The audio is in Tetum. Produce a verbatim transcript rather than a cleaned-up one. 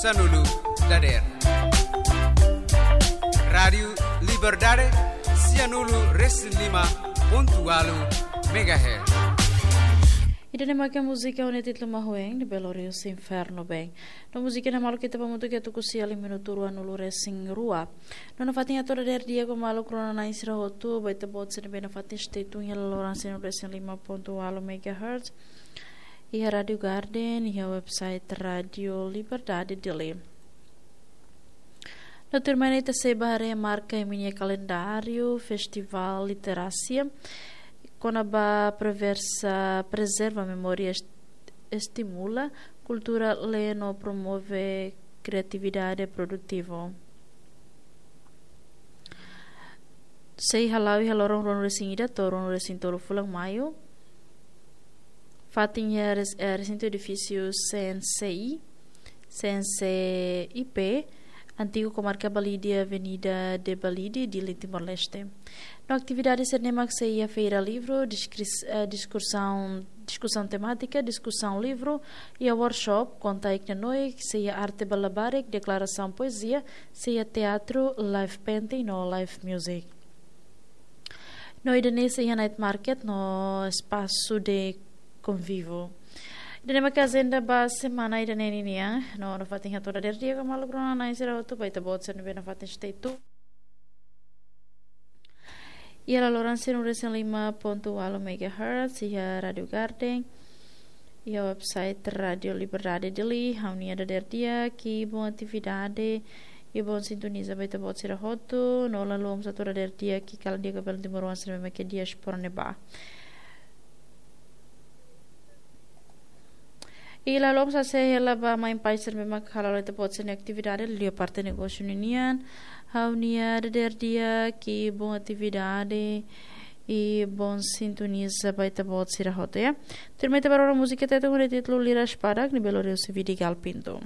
Sanulu dader. Rádiu Liberdade, sianulu resin lima pontu walu megahertz. Ida-ne'e mak múzika ho títulu Mahueng, de Belo Rio Inferno Bem. No múzika ne'e maluk ita ba hamutuk iha tuku sia liu minutu ruanulu resin rua. No nafatin hato'o dader di'ak ba maluk rona-na'in sira hotu, ba ita-boot sira ne'ebé nafatin stay tune iha laloran sianulu resin lima pontu walu megahertz. Iha Rádiu Garden, iha website Rádiu Liberdade Dili. No tuirmai ne'e ita sei ba haree marka iha imi-nia kalendáriu, Festivál Literasia, kona-ba preversa, prezerva memória, est-, estimula kultura lee no promove kriatividade produtivu. Sei hala'o iha loron ruanulu resin ida to'o ruanulu resin tolu fulan Maiu. Fatin iha res-, eh, resintu edifísiu C N C I, C N C I P, antigu Komarka Balide, Avenida de Balide, Dili, Timor-Leste. No atividade sira-ne'e mak sei iha feira livru, diskris-, eh, diskursaun, diskusaun temátika, diskusaun livru, iha workshop, konta-iik nanoik, sei iha arte ba labarik, deklarasaun poezia, sei iha teatru, live painting no live music. No ida-ne'e sei iha night market no espasu de konvíviu. Ida-ne'e mak ajenda ba semana ida-ne'e ninian. No nafatin hato'o dader di'ak ba maluk rona-na'in sira hotu, ba ita-boot sira ne'ebé nafatin stay tune iha laloran sianulu resin lima pontu walu megahertz, iha Rádiu Garden, iha website Rádiu Liberdade Dili, ha'u-nia dader di'ak, i bom atividade, i bom sintoniza ba ita-boot sira hotu, no la haluha mós hato'o dader di'ak, i kalan di'ak ba belun timoroan sira ne'ebé mak iha diáspora ne'ebá. I la haluha mós hase'e hela ba mãe pai sira ne'ebé mak hala'o ita-boot sira-nia atividade, liuliu parte negósiu ninian, ha'u-nia dader di'ak, i bom atividade, i bom sintoniza ba ita-boot sira hotu, ya. Tuirmai ita ba rona múzika Tetun ho títulu Lira Espadak, de Belo Rio C V de Gal Pinto.